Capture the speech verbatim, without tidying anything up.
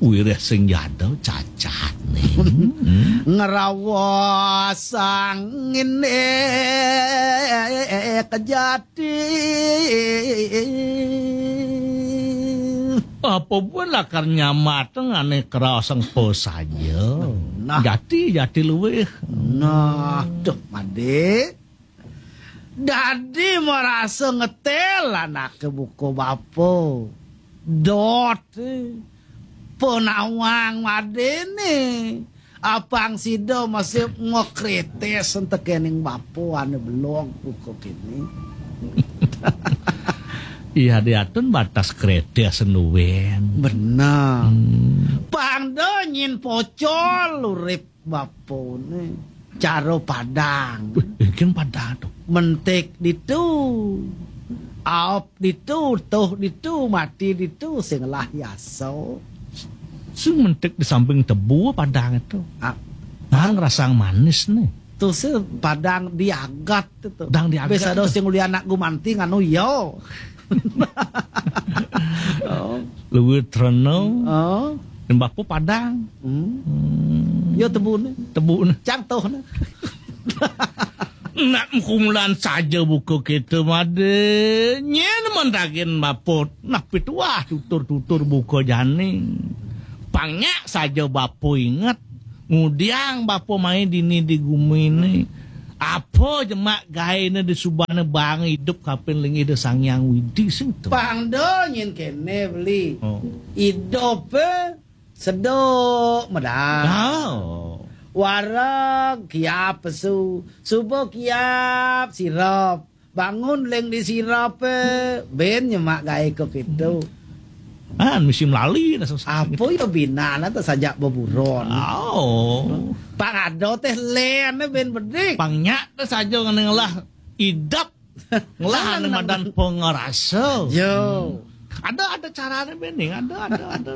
Wirih sing jada cacat ning. Ngrawasang ngene kejati. Apa buat lakar nyamat ngane kerasang po saja. Nah. Jati, jati luwih. Nah, duh, Made. Dadi merasa ngetel anake buka bapa. Dot, eh, penawang madene. Apang sida masih ngokretes entekening bapa ane belog buka kene. Iya, diatun batas kretes nuwen. Benar. Hmm. Pang do nyin pocol urip bapane. Cara padang. Wih, engken padang to. Mentik ditu. Aop ditu, tuh ditu, mati ditu, sing lah yasa. Sing mentik di samping tebu padang itu. Ah. Nah, ngerasang manis nih. Tuh sih padang diagat itu. Padang diagat. Bisa ada itu. Sing uli anak gumanti nganu yo. Oh. Luwih treno. Oh. Dan bapa padang. Hmm. Hmm. Yo tebune. Tebune. Cang tuh. Nak kumulan saja buka kita, Made. Nyen mentakin bapa. Nah, pituah tutur-tutur buka jani. Pang nyak saja bapa inget. Ngudiang bapa mai dini di gumi ni. Apa jemak gaene di subane bang idup kapin linggih di Sang Hyang Widi sing to. Pang do nyin kene beli. Oh. Idup, eh, seduk medal. Oh. Wareg kiap pesu, subuh kiap sirop. Bangun leng di sirop, eh, ben nyemak gae ko kitu. Ah, mesti melali nah, susah. Apa ya binana tuh sajak beburon. Oh. Pang ada teh len, eh, ben bedik. Pang nyak teh saja ngene ngelah idap. Ngelah ane madan pengerasa. Yo. Ada, ada carane bening, ada, ada, ada.